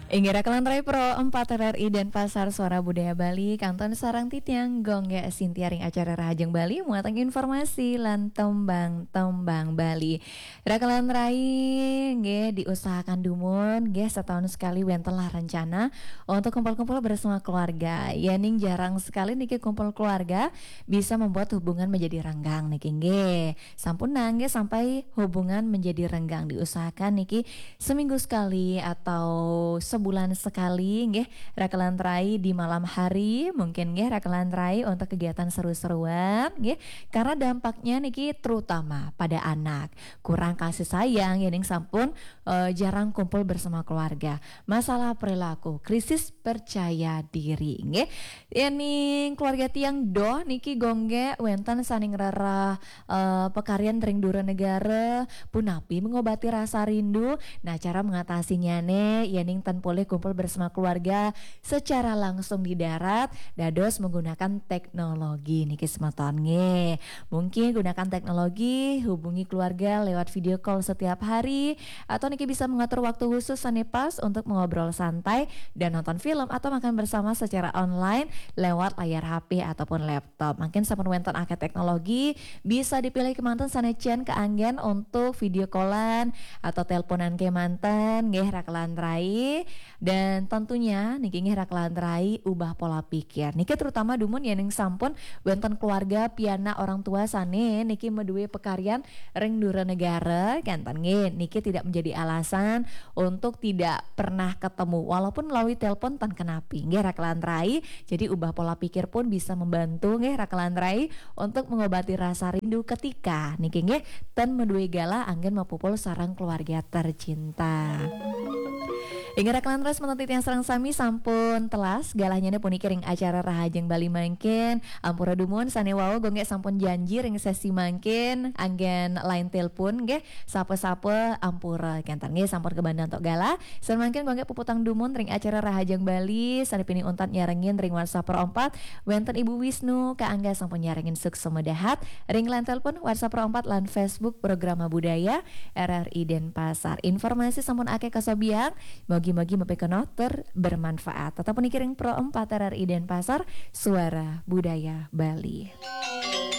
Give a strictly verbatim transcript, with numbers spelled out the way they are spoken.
Inggih, rakan lantarai Pro empat R R I Denpasar, Suara Budaya Bali, kantun sareng titiang Gung Gé Sintia ring acara Rahajeng Bali, muatan informasi lan tembang-tembang Bali. Rakan lantarai, nggih, diusahakan dumun, nggih, setahun sekali wénten lah rencana untuk kumpul-kumpul bersama keluarga. Yéning jarang sekali niki kumpul keluarga, bisa membuat hubungan menjadi renggang niki, nggih. Sampun nah, nggih, sampai hubungan menjadi renggang, diusahakan niki seminggu sekali atau sebulan sekali, nggih, rakan lantarai di malam hari, mungkin, nggih, rakan lantarai untuk kegiatan seru-seruan, nggih, karena dampaknya niki terutama pada anak, kurang kasih sayang, yéning sampun, eh, jarang kumpul bersama keluarga, masalah perilaku, krisis percaya diri, nggih. Yéning keluarga tiang Doh niki, Gung Gé, wénten sané ngrereh, eh, pakaryan ring dura negara, punapi mengobati rasa rindu. Nah, cara mengatasinya né, yéning ten polih kumpul bersama keluarga secara langsung di darat, dados menggunakan teknologi niki, semeton, nggih. Mungkin gunakan teknologi, hubungi keluarga lewat video call setiap hari, atau niki bisa mengatur waktu khusus sané pas untuk mengobrol santai dan nonton film atau makan bersama secara online lewat layar H P ataupun laptop. Mungkin sampun wénten akéh teknologi, bisa dipilih kémanten sané cén kaanggén untuk video callan atau teleponan kémanten, nggih, rakan lantarai. Dan tentunya niki, nggih, rakan lantarai, ubah pola pikir. Niki terutama dumun yéning sampun wénten keluarga, pianak, orang tua sané niki madué pakaryan ring dura negara, kénten, nggih, niki tidak menjadi alasan untuk tidak pernah ketemu, walaupun melalui telepon, ten kenapi, nggih, rakan lantarai. Jadi ubah pola pikir pun bisa membantu, nggih, rakan lantarai, untuk mengobati rasa rindu ketika niki, nggih, ten madué galah anggén mapupul sareng keluarga tercinta. Inggih, rakan lantarai, semeton titiang sareng sami, sampun telas galahnyané puniki ring acara Rahajeng Bali mangkin. Ampura dumun sané wau, Gung Gé sampun janji ring sési mangkin anggén line telepon, nggih, sapa-sapa ampura, kénten, nggih, sampun kabanda antuk galah. Sané mangkin Gung Gé puputang dumun ring acara Rahajeng Bali, sané pinih untat nyarengin ring WhatsApp Pro empat, wénten Ibu Wisnu, kaanggé sampun nyarengin suksma dahat ring line telepon WhatsApp Pro empat lan Facebook Programa Budaya R R I Denpasar. Informasi sampun akéh kasobiang, mugi-mugi mapikenoh tur bermanfaat. Tetep puniki ring Pro empat R R I Denpasar, Suara Budaya Bali.